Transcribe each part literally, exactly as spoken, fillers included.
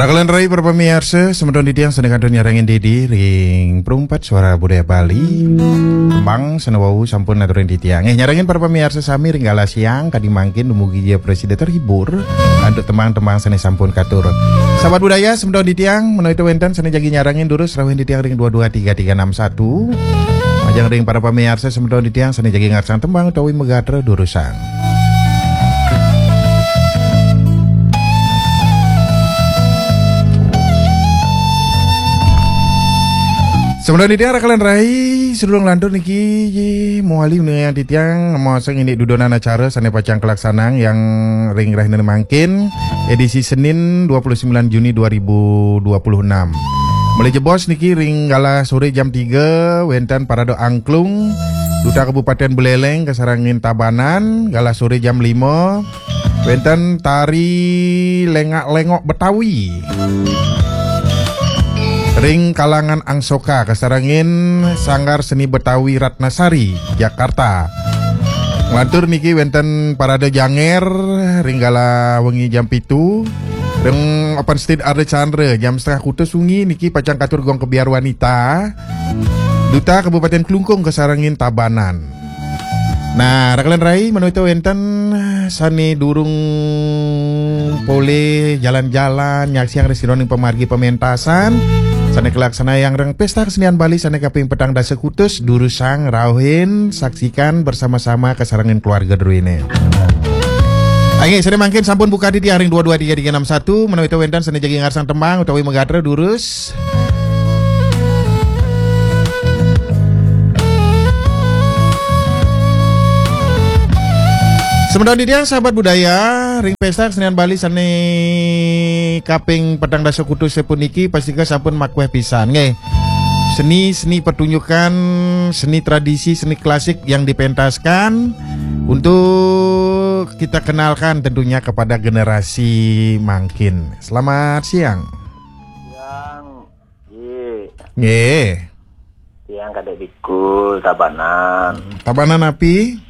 Raka lan rai para pamiarsa, semeton titiang sane kantun nyarengin diri ring Perumpat Suara Budaya Bali. Tembang sane wau sampun aturin titiang. Eh, nyarengin para pamiarsa sami ring galah siang kadi mangkin, dumugi ja prasida terhibur antuk tembang-tembang sane sampun katur. Sahabat budaya, semeton titiang, menawi wenten sane jagi nyarengin durus rauhin titiang ring dua dua tiga tiga enam satu. Majeng ring para pamiarsa semeton titiang sane jagi ngarsang tembang utawi magatra durusang. Semeton titiang raka lan rai, sedurung lantur niki mawali nunas titiang maosang indik dudonan acara sane pacang kalaksanang ring rahina mangkin, edisi Senin dua puluh sembilan Juni dua ribu dua puluh enam. Malih jebos niki ring galah sore jam tiga wenten parade angklung Duta Kabupaten Buleleng kasarengin Tabanan, galah sore jam lima wenten tari lengak-lengok Betawi ring kalangan Angsoka kasarengin Sanggar Seni Betawi Ratnasari, Jakarta. Nglantur niki wenten parade janger ring galah wengi jam pitu. Ring Open Stage Ardha Candra jam setengah kutus wengi niki pacang katur gong kebyar wanita. Duta Kabupaten Klungkung kasarengin Tabanan. Nah, raka lan rai, menawi wenten sane durung polih jalan-jalan nyaksiang ring sajeroning pamargi pamentasan sane kalaksanayang ring Pesta Kesenian Bali sane kaping petang dasa kutus, durusang, rauhin, saksikan bersama-sama kasarengin keluarga druene. Inggih, sane mangkin sampun buka titiang ring dua dua tiga tiga enam satu, menawi wenten sane jagi ngarsang tembang utawi magatra durus. Semeton titiang sahabat budaya, ring Pesta Kesenian Bali sane kaping petang dasa kutus puniki pastika sampun makueh pisan, nggih. Seni-seni pertunjukan, seni tradisi, seni klasik yang dipentaskan untuk kita kenalkan tentunya kepada generasi mangkin. Selamat siang. Siang. Nggih. Nggih. Tiang Kadek Bikul, Tabanan. Tabanan napi?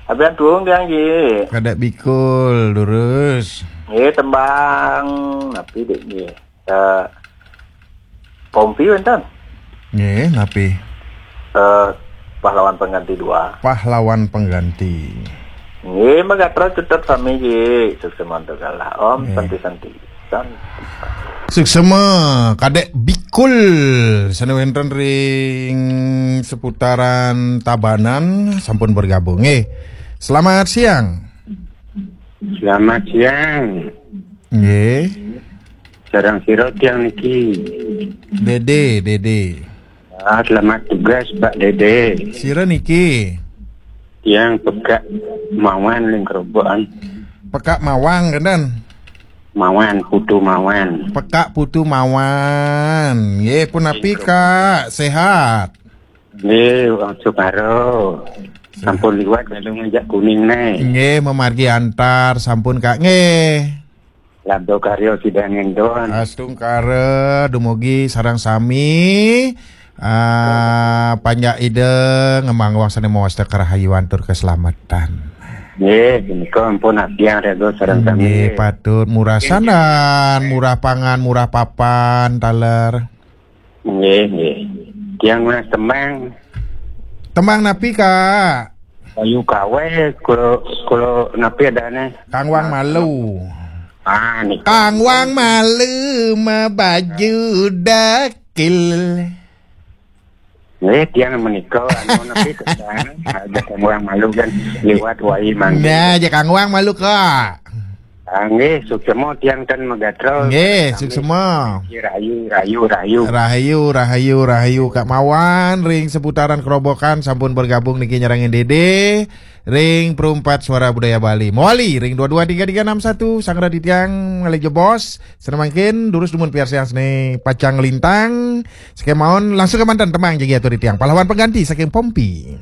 Abian Tuung tiang, nggih. Kadek Bikul, durus. Nggih, tembang napi, Dek, nggih? Eh, Pompi wenten. Nggih, napi? Eh, Pahlawan Pengganti dua. Pahlawan Pengganti. Nggih, magatra tetep sami, nggih. Suksma antuk galah. Om, nggih. Santi, santi. Santi. Suksma, Kadek Bikul sane wenten ring seputaran Tabanan sampun bergabung. Nggih. Selamat siang. Selamat siang. Nggih. Sareng sira tiang niki. Dede, Dede. Ah, selamat tugas, Pak Dede. Sira niki. Tiang Pekak Mawan ring Kerobokan. Pekak Mawang, kenten? Mawan, Putu Mawan. Pekak Putu Mawan. Nggih, punapi, Kak? Sehat? Nggih, Wang Sukaro. Sampun liwat galung ngajak kuning ne. Nggih, mamargi antar sampun, Kak. Nggih. Labda karya sida ngendon. Astungkara dumugi sareng sami. Ah, panjak Ida ngemaang wang sane mawasta karahayuan tur keselamatan. Nggih, punika ampun abdiang rega sareng sami. Nggih, patut murah sandan, murah pangan, murah papan, taler. Nggih, nggih. Tiang nunas tembang. Tembang napi, Kak? Bayu Kawe, kula, kula napi adane? Kang Wang Malu. Ah, nika. Kang Wang Malu mabaju dakil. Nggih, tiang menika anu napi tembang? Ada Kang Wang Malu kan liwat wai mangke. Nah, aja Kang Wang Malu, Kak. Ah, nggih, suksma tiang ten magatra. Nggih, suksma. Rahayu, rahayu, rahayu. Rahayu, rahayu, rahayu. Kak Mawan ring seputaran Kerobokan sampun bergabung niki nyarengin Dede ring Perumpat Suara Budaya Bali. Mawali ring dua dua tiga tiga enam satu, Sang Raditya ngalih jebos. Sane mangkin durus dumun piarsayang sane pacang nglintang. Sekemaon langsung kemanten tembang jagi atur titiang. Pahlawan Pengganti saking Pompi.